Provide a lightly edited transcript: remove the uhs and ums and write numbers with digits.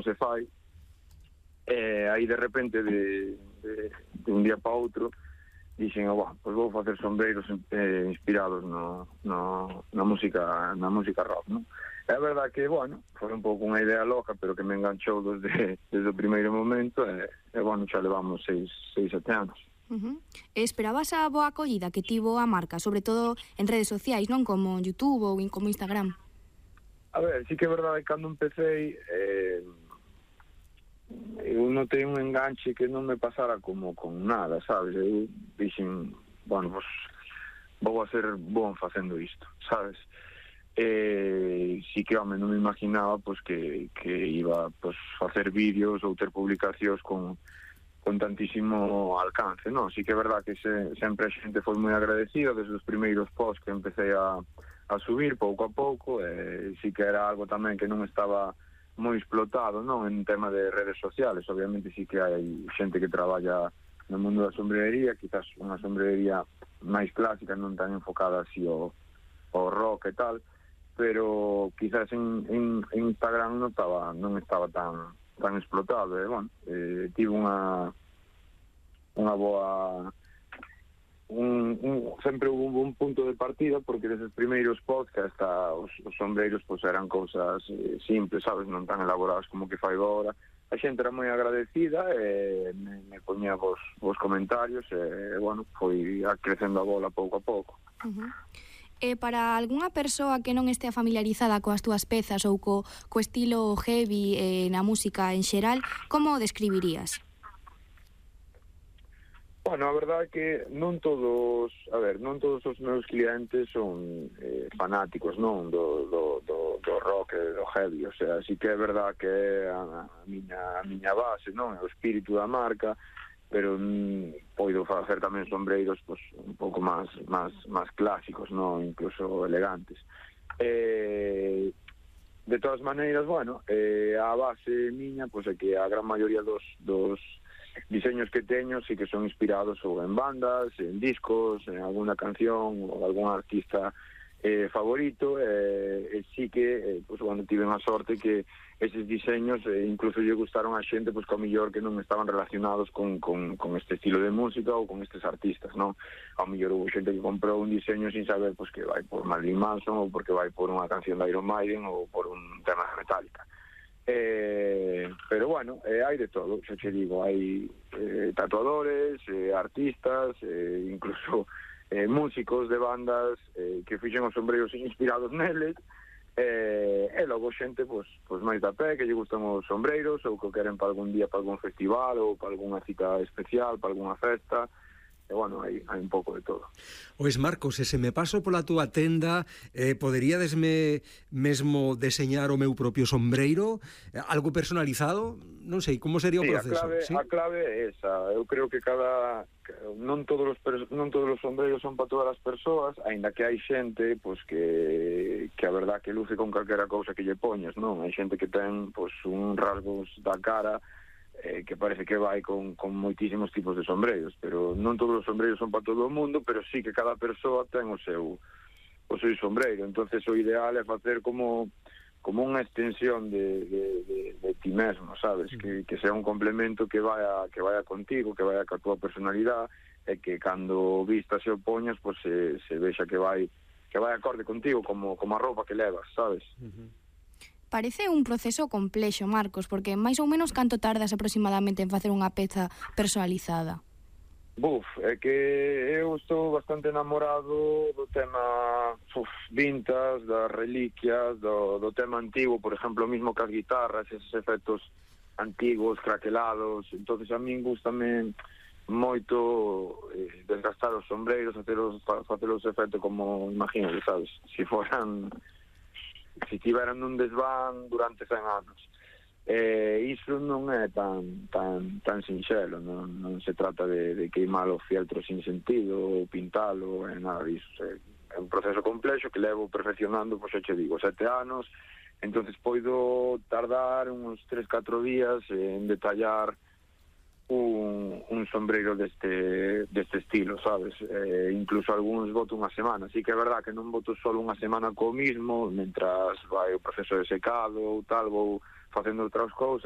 se fai. Aí de repente de un día para outro dixen, pois vou facer sombreiros inspirados na música rock, non? É verdade que, foi un pouco unha idea loca, pero que me enganchou desde o primeiro momento, xa levamos 6-7 anos. Esperabas a boa acollida que tivo a marca, sobre todo en redes sociais, non como YouTube ou como Instagram? A ver, sí que é verdade que cando empecé eu notei un enganche que non me pasara como con nada, sabes? Eu dixen, pues vou a ser bon facendo isto, sabes? Sí que, non me imaginaba pues que iba pues facer vídeos ou ter publicacións con tantísimo alcance, non? Sí que é verdad que sempre a xente foi moi agradecida desde os primeiros posts que empecé a subir pouco a pouco, sí que era algo tamén que non estaba moi explotado, non, en tema de redes sociales. Obviamente sí que hai xente que traballa no mundo da sombrería, quizás unha sombrería máis clásica, non tan enfocada así ao rock e tal, pero quizás en Instagram non estaba tan explotado, tive unha boa sempre hubo un punto de partida, porque deses primeiros podcasts os sombreiros pues eran cousas simples, sabes, non tan elaboradas como que fai agora. A xente era moi agradecida, me poñía vos comentarios, foi crecendo a bola pouco a pouco. Para algunha persoa que non estea familiarizada coas túas pezas ou co estilo heavy na música en xeral, como o describirías? A verdade é que non todos os meus clientes son fanáticos, non, do rock e do heavy, o sea, sí que é verdade que é a miña base, non, é o espírito da marca, pero poido facer tamén sombreiros pues, un pouco máis clásicos, non, incluso elegantes. De todas maneiras, a base miña pues é que a gran maioría dos diseños que teño sí que son inspirados ou en bandas, en discos, en alguna canción ou algún artista favorito, sí que tive a sorte que eses diseños incluso lle gustaron a xente que ao mellor que non estaban relacionados con este estilo de música ou con estes artistas, non? Ao mellor houve xente que comprou un diseño sin saber que vai por Marilyn Manson ou porque vai por unha canción de Iron Maiden ou por un tema de Metallica. Pero hai de todo, xa che digo, hai tatuadores, artistas, incluso músicos de bandas que fixen os sombreiros inspirados neles, e logo xente pues máis da pé, que lle gustan os sombreiros ou que queren para algún día, para algún festival ou para algunha cita especial, para algunha festa. E, hai un pouco de todo. Ois, Marcos, se me paso pola túa tenda, poderíadesme mesmo deseñar o meu propio sombreiro? Algo personalizado? Non sei, como sería o proceso? A clave é esa. Eu creo que non todos os sombreiros son para todas as persoas, aínda que hai xente que a verdad que luce con calquera cousa que lle poñes, non? Hai xente que ten un rasgos da cara que parece que vai con moitísimos tipos de sombreiros, pero non todos os sombreiros son para todo o mundo, pero sí que cada persoa ten o seu sombreiro. Entonces o ideal é facer como unha extensión de ti mesmo, sabes? Que sea un complemento que vaya contigo, que vaya ca túa personalidade, e que cando vistas e o poñas se vexa que vai acorde contigo, como a roupa que levas, sabes? Parece un proceso complexo, Marcos, porque máis ou menos canto tardas aproximadamente en facer unha peza personalizada? É que eu estou bastante enamorado do tema vintage, das reliquias, do tema antigo, por exemplo, mesmo que as guitarras, esos efectos antigos, craquelados. Entonces a min gustame moito desgastar os sombreiros, facer os efectos como, imagínate, sabes, si tiveran un desván durante 100 anos. Iso non é tan sinxelo, non se trata de queimar o fieltro sin sentido ou pintalo, nada disso. É un proceso complexo que levo perfeccionando, xa che digo, 7 anos. Entonces poido tardar uns 3-4 días en detallar un sombreiro deste estilo, sabes? Incluso algúns boto unha semana. Así que é verdad que non boto só unha semana co mismo, mentras vai o proceso de secado ou tal, vou facendo outras cousas,